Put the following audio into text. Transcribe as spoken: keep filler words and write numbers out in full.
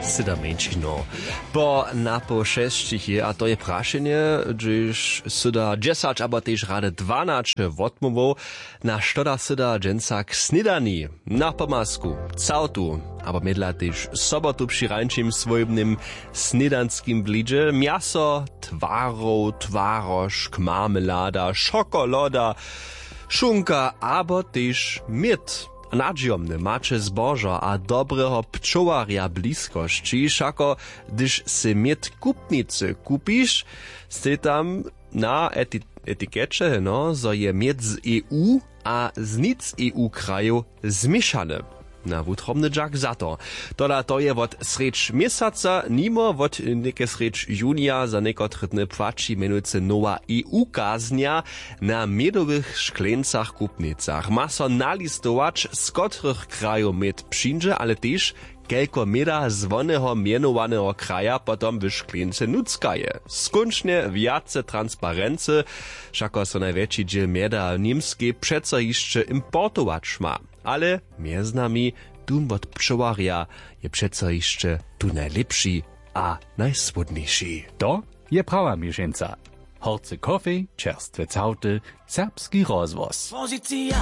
Syda mjeńšinow po napoł šesćich je, a to je prašenje, hdźež syda dźesać abo tež rady dwanaće wotmołwow. Na što da syda dźensa k snědani? Na pomazku całtu abo mjedla tež sobotu při rańšim swójbnym snědanskim blidźe mjaso, twarow, twarožk, marmelada, šokoloda, šunka abo tež měd. Nadźijomne maće zbožo a dobreho pčołarja w bliskosći. Wšako hdyž sy měd w kupnicy kupiš, stej tam na eti-, etikeće, no, zo je měd z E U a z nic E U krajow změšany. Na wutrobny dźak za to. Tola to je wot srjedź měsaca, nimo wot něke srjedź junija za někotre dny płaći mjenujcy nowa E U kaznja. Na mědowych škleńcach w kupnicach ma so nalistować, z kotrych krajow měd přińdźe, ale tež kelko měda z woneho mjenowaneho kraja potom w škleńce nutřka je. Skónčnje wjace transparency. Wšako so najwjetši dźěl mjeda w Němskej přeco hišće importować ma. Ale mjez nami, dum wot pčołarja je přeco hišće tu najlěpši a najsłódniši. To je prawa měšeńca. Horcy kofej, čerstwe całty, serbski rozhłos.